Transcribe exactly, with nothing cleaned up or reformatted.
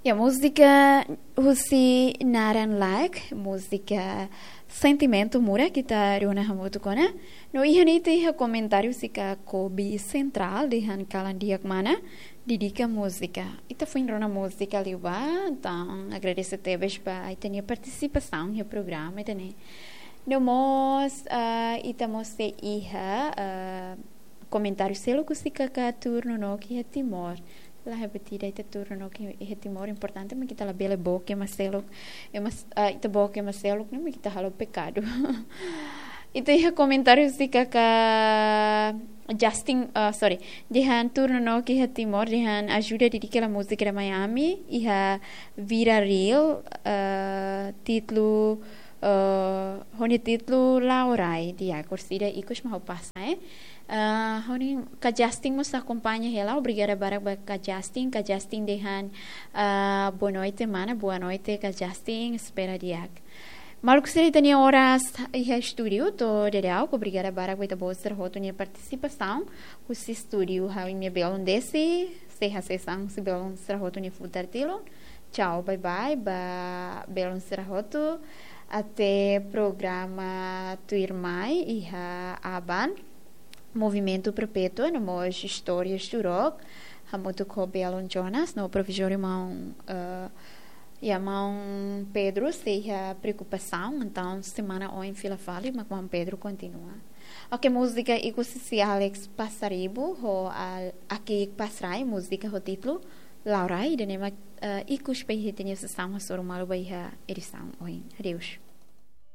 Ya, múzika husi naran laek, múzika Sentimentu Murak, ita rona hamutuk ona. No iha ne'e ita iha komentáriu husi Kobi Sentrál dehan kalan di'ak mana, dedika múzika. Ita foin rona múzika liubá, entaun agradese tebes ba ita-nia partisipasaun iha programa ida-ne'e. No mós, ah, ita mós sei iha, ah, komentáriu seluk husi katak tuur nonook iha Timor. La, é batida ita tuur nonook iha Timor, importante mak ita labele book ema seluk. Ema s-, ah, ita book ema seluk ne'e mak ita halo pekadu. Ita iha komentáriu husi katak Justin, ah, sorry, dehan tuur nonook iha Timor, dehan ajuda dedika hela múzika ida mai ami, iha Vira Reel, ah, títulu, ah, ho nia títulu Laurai, di'ak, orsida ikus mak ha'u pasa, eh. Ah, ha'u-nia katak Justin mós akompaña hela, obrigada barak ba katak Justin, katak Justin dehan, ah, boa noite, mana, boa noite, katak Justin, espera di'ak. Maluk sira, ita-nia oras iha estúdiu to'o daudauk, obrigada barak ba ita-boot sira hotu nia partisipasaun husi estúdiu. Ha'u-nia belun Desi, sei hasees an husi belun sira hotu nia futar tilun. Tchau, bye bye ba belun sira hotu. Até programa tuirmai iha Aban. Movimentu Perpétua, no mós Istórias do Rock, hamutuk ho belun Jonas, no profesór maun, eh, ya, maun Pedro sei iha preokupasaun, entaun semana oin fila fali, mak maun Pedro kontinua. Ok, múzika ikus husi Alex Pasaribu, ho Al-, Aki Pasrai, múzika ho títulu Laurai, ida-ne'e mak, eh, ikus ba ita-nia sesaun hasoru malu ba iha edisaun oin. Adeus.